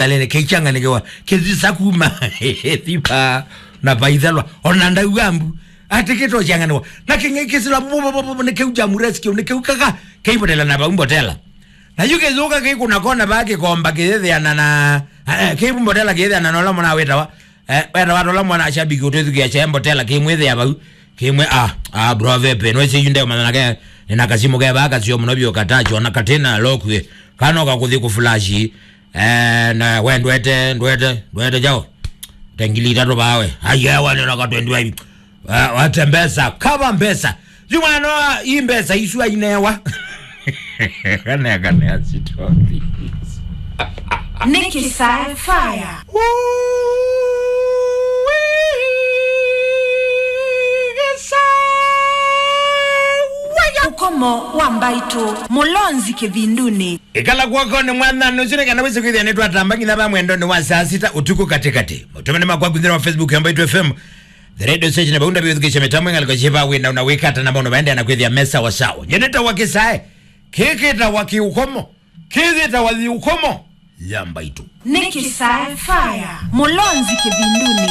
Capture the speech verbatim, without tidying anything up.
Talele kĩkyang'anĩkĩwa kĩthisa kuma thipa na vaithalwa ona ndauga mbu atĩ kĩtokyang'anĩwa na kĩng'ei kĩsila nĩ kĩu jamu rescue nĩ kĩu kaka kĩimbotela na vau mbotela. Na yu kĩthũka kĩkũna kona vaa kĩkomba kĩyĩthĩana na eh, kĩimbotela kĩyĩthĩana na ũla mwana wĩtawa eh, wenda watola mwana ashabiki ũtwĩthukĩa kyae mbotela kĩmwĩthĩa vau kĩmwe ah ah bro vepe no ĩsĩ yu ndeũmanya nake nĩna kasimu ke vaa kasio mũno vyũ katacho na katĩna lokwie kanoka kũthi kũfulashi. Eh, na we ndwete ndwete ndwete jao tengili itatu bawe ayewa nena ka twenty-five. Eh, wate mbesa kava mbesa yu mwana wa hii mbesa isu ainewa. Kane kane asitoki. Nĩ kĩsae faya. Ũkomo wa mbaitũ mũlonzi kĩvindunĩ. Ĩkala kw'oko nĩ mwathani ũsu nĩ kana wĩsĩ kwĩthĩa nĩtwatamba nginya va mwendonĩ wa saa sita ũtukũ katĩkatĩ. Maũtũmani makwa kwĩthĩra wa Facebook ya Mbaitũ F M, the radio station, vau ndavĩũthukĩsya mĩtambo ĩngalĩko syĩva wĩna una wĩkata na maũndũ vaendeea na kwĩthĩa me sawa sawa. Nyie nĩtawa kĩsae kĩkĩtawa kĩũkomo kĩthĩtawa yĩũkomo ya Mbaitũ. Nĩ kĩsae faya mũlonzi kĩvindunĩ.